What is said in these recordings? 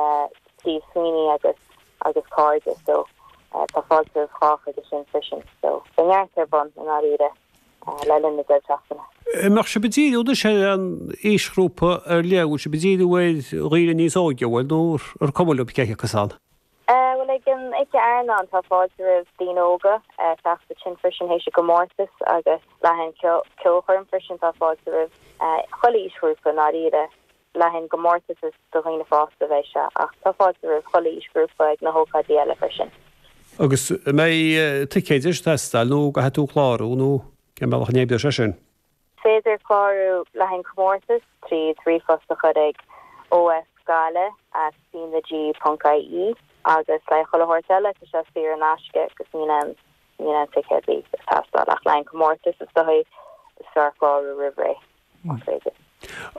le Steve Sweeney agus agus cairde so tá fáilte roimh chách aige sin freisin. So beidh neart ar bun i ndáiríre le linn na deireadh seachtaine. An mbeadh sibh ag díriú anois ar aon aoisghrúpa ar leith, bhfuil sibh ag díriú ar dhaoine níos óige, bhfuil, nó ar cuma libh cé acu san? Bhuel ag an Oíche Airneáin tá fáilte roimh daoine óga teacht ansin freisin théis an gcomórtas agus le haghaidh an ceolchoirm freisin tá fáilte roimh chuile aoisghrúpa i ndáiríre. Le haghaidh an gcomórtas is do dhaoine fásta a bheidh sé ach tá fáilte roimh chuile aoisghrúpa ag na hócáidí eile freisin. Agus an mbeidh ticéid ag teastáil nó caithfidh tú clárú nó cén bealach a n-oibreoidh sé sin? Is féidir clárú le haghaidh an comórtas tríd ríomhphost a chur ag ofgaillimh at cnag ponc ie agus le haghaidh chuile shórt eile tá sé saor in aisce agus níl aon níl aon ticéad ar bith ag teastáil ach le haghaidh an comórtas is dóigh is fearr clárú roimh ré más féidir.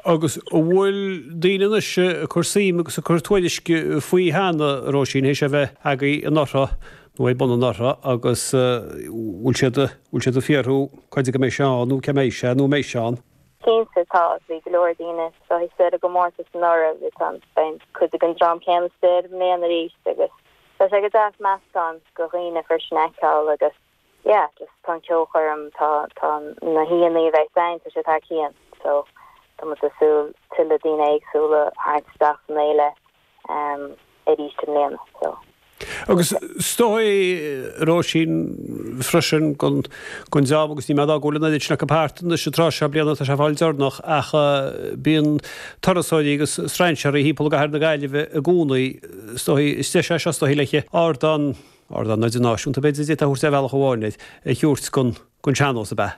Agus an bhfuil daoine anois ag cur suim agus ag cur tuairisc faoi cheana, a Róisín, théis é a bheith agaibh anuraidh nó ar bun anuraidh agus bhfuil siad, bhfuil siad ag fiafraí cá fhad go mbeidh sé ann nó cá mbeidh sé nó an mbeidh sé ann? Cinnte, tá. Bhí go leor daoine istigh sa gcomórtas anuraidh, bhí tá, beidh cuid den dream céanna istigh i mbliana arís agus tá sé go deas meascán de dhaoine freisin a fheiceáil agus yeah just tá an ceolchoirm, tá tá na haíonna a bheidh ann, tá sé thar cionn so tá muid ag súil tuilleadh daoine éagsúla a tharraingt isteach san fhéile um arís i mbliana so. Agus is dóigh, a Róisín, freisin don don dream agus níl mé ag rá go bhfuil an oiread sin acu thart anois an tráth seo bliana tá sé ag fáil deireanach ach bíonn turasóirí agus strainséirí thimpeall i gcathair na Gaillimhe i gcónaí is dóigh is deis é seo is dóigh le ardán Ardán idirnáisiúnta, b'fhéidir, a d'fhéadfá a thabhairt ar bhealach amháin air, a thabhairt don sean-nós, ab ea?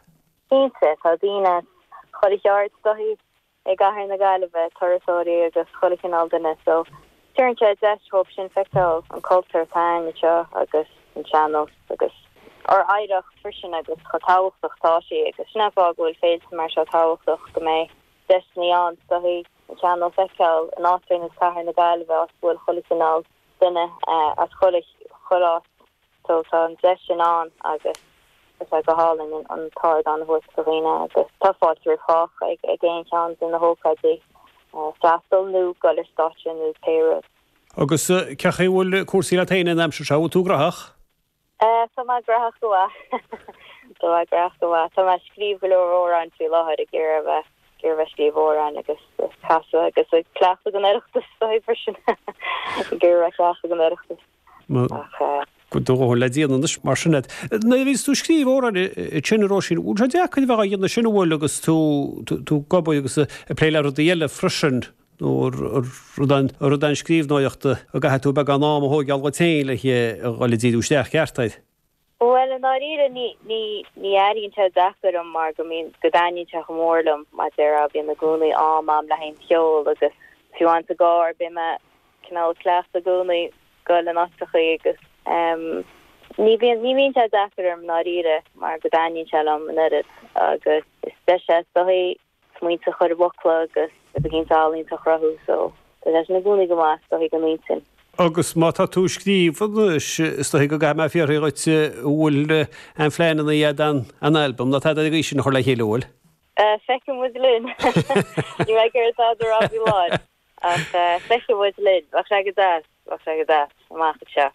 Cinnte, tá daoine as chuile cheard is dóigh i gcathair na Gaillimhe, turasóirí agus chuile chineál duine, so tabharann sé deis dhóibh sin feiceáil an cultúr atá againn anseo agus an sean-nós agus ár oidhreacht freisin agus chomh tábhachtach atá sí agus sin an fáth go bhfuil féilte mar seo tábhachtach, go mbeidh deiseanna ann is dóigh an sean-nós a fheiceáil in áit ar nós cathair na Gaillimhe áit go bhfuil chuile chineál duine as chuile chuile áit so tá an deis sin ann agus tá sé go hálainn an t-ardán a thabhairt do dhaoine agus tá fáilte roimh chách ag ag aon cheann de na hócáidí freastal nó dul ar stáitse nó pé rud. Agus cén chaoi a bhfuil cúrsaí leat féin an aimsir seo, bhfuil tú graitheach? Tá mé graitheach go maith. Tá mé graitheach go maith. Tá mé ag scríobh go leor amhráin faoi láthair, ag iarraidh a bheith, ag iarraidh a bheith ag scríobh amhráin agus ag casadh agus ag cleachtadh don Oireachtas freisin. Ag iarraidh a bheith ag cleachtadh don Oireachtas. Ach. Do dhóthain le déanamh anois mar sin agat. Nuair a bhíos tú ag scríobh amhráin ansin a Róisín, bhfuil sé deacair a bheith á dhéanamh sin an bhfuil agus tú, tú ag obair agus ag plé le rudaí eile freisin? Nó rud rud an scríbhneoireachta a gcaithfidh tú beagán am a thóigeáil dhuit féin le dhul ag díriú isteach ceart air? Bhuel, i ndáiríre, ní, ní, ní airíonn sé deacair dom mar go mbíonn, go dtaitníonn sé chomh mór liom, mar a déarfá, bíonn i gcónaí am a'm le haghaidh an cheoil agus fiú amháin sa gcarr bíonn mé cineál ag cleachtadh i gcónaí goil in áiteachaí agus ehm ní bhíonn, ní bhíonn sé deacair orm i ndáiríre mar go dtaitníonn sé liom an oiread agus is deis é is dóigh smaointe a chur i bhfocla agus rud eicínt ealaíonta a chruthú so tá sé sin i gcónaí go maith is dóigh don intinn. Agus má tá tú ag scríobh anois is dóigh go gcaithfidh mé fiafraí dhuit an bhfuil aon phleananna agat don albam nó tada ar an gcaoi sin a chur le chéile an bhfuil? Feicfidh muid linn. Níl mé ag iarraidh tada a rá faoi láthair. Ach feicfidh muid linn. Bheadh sé go deas, bheadh sé go deas, amach anseo.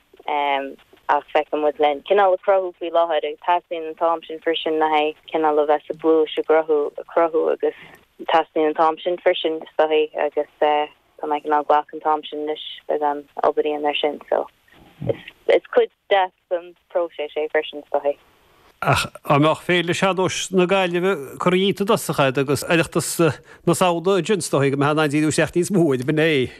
Ach feicfidh muid linn. Cineál ag cruthú faoi láthair agus teastaíonn an t-am sin freisin le haghaidh cineál a bheith sa bpluais ag cruthú, ag cruthú agus teastaíonn an t-am sin freisin is dóigh agus tá mé cineál ag glacadh an t-am sin anois beagán obair a dhéanamh ar sin so is cuid deas den próiseas é freisin is dóigh. Ach dá mbeadh Féile Sean-Nóis na Gaillimhe curtha dhíot i dtosach agat agus Oireachtas na Samhna ansin is dóigh go mbeifeá in ann díriú isteach níos mó air, b'in é.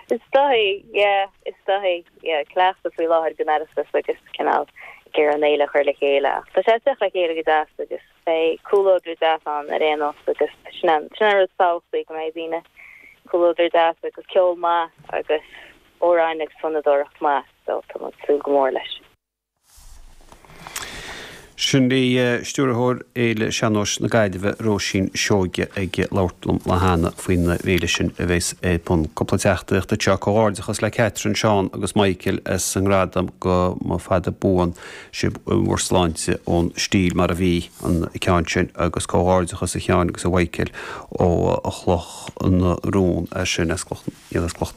Is dóigh, yeah, is dóigh, yeah, cleachtadh faoi láthair don Oireachtas agus cineál ag iarraidh an fhéile a chur le chéile ach tá sé ag teacht le chéile go deas agus beidh comhluadar deas ann ar aon nós agus sin an, sin an rud is tábhachtaí go mbeidh daoine, comhluadar deas agus ceol maith agus amhráin agus fonnadóireacht maith so tá muid ag súil go mór leis. Sin í Stiúrthóir Fhéile Sean-Nóis na Gaillimhe, Róisín Seoige, ag labhairt liom lá cheana faoin bhféile sin a bheas ar bun. Cúpla teachtaireacht anseo, Comhghairdeachas le Catherine, Seán agus Michael as an ngradam go mba fada buan sibh in bhur sláinte ón stíl mar a bhí an ceann sin agus comhghairdeachas a Sheáin agus a Mhichael ó Chloch na Rón as sin as Cloch.